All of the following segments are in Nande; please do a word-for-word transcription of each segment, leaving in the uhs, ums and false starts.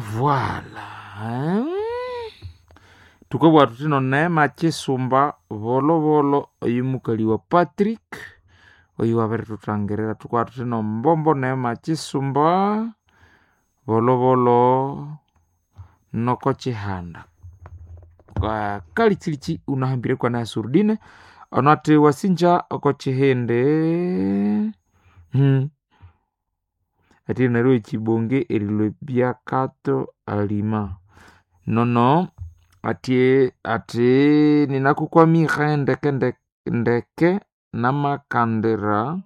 Voilà. Tukabugha thuthi noneema kyisumba bolobolo oyu mukali wa Patrick oyu wabirithuthangirira tukabugha thuthi nombombo neema kyisumba bolobolo noko kyihanda. Kalikyilichi wunahambire kwana surdine ono athi wasinja oko kyihindi hmm. Athi neryo ekyibonge erilwa ebyakato alima nono athi athi ninakukwamire ndeke ndeke ndeke namakandira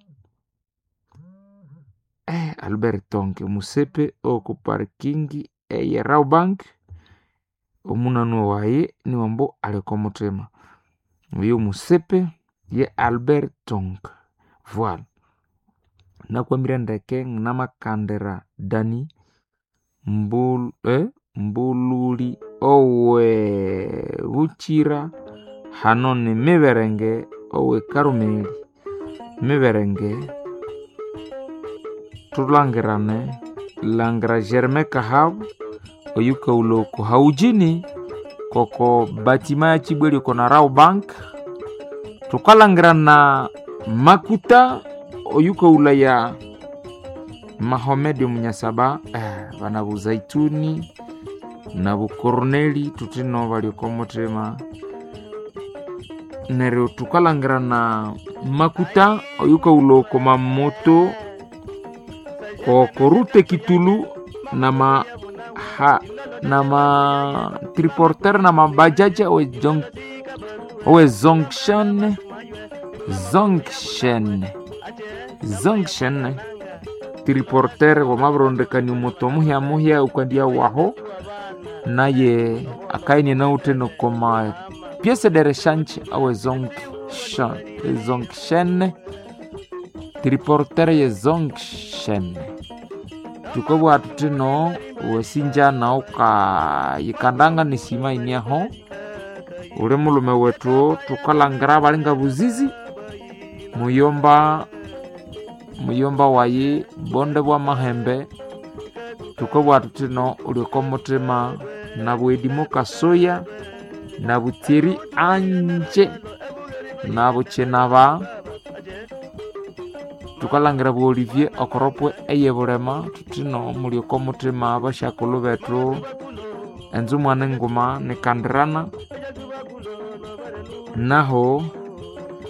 eh, Albert Tonke musepe oku parking eye Rawbank omunanu wayi niwambo ali oko muthima oyo musepe ye Albert Tonke voilà nakwamire ndeke namakandira Dani mbul, eh, mbululi owe Buchira hano ni Miberenge owe Karumeli Miberenge thulangirane langira Germain Kahabu oyukaghulha oko Haujini koko batima ya Kibweli oko na Rawbank thukalangirana Makuta oyukaghulhaya Mahomed Omunyasaba eh, bana Buzaituni nabu Corneli thuthino bali oko muthima neryo thukalangirana Makuta oyukaghulha oko Mamoto koko rute Kitulu nama ha, nama triporter nama bajaja owe jong, owe zonction zonction zonction triporter wamabirondekania omoto muhya muhya ukandia waho naye akaine nawuthe nokoma pièce de rechange awe zonction zonction triporter ye zonction thukabugha thuthino wasinja nawu kayikandanga nesima iniaho uli mulume wethu thukalhangira abalinga buzizi muyomba muyomba wayi bonde bwa mahembe thukabugha thuthino uli oko muthima nabwedimo kasoya nabutsiri anje nabukinaba thukalhangira bu Olivier okoropwe eyebulema thuthino muli oko muthima abasyakulhu bethu enzu mwana enguma nikandirana naho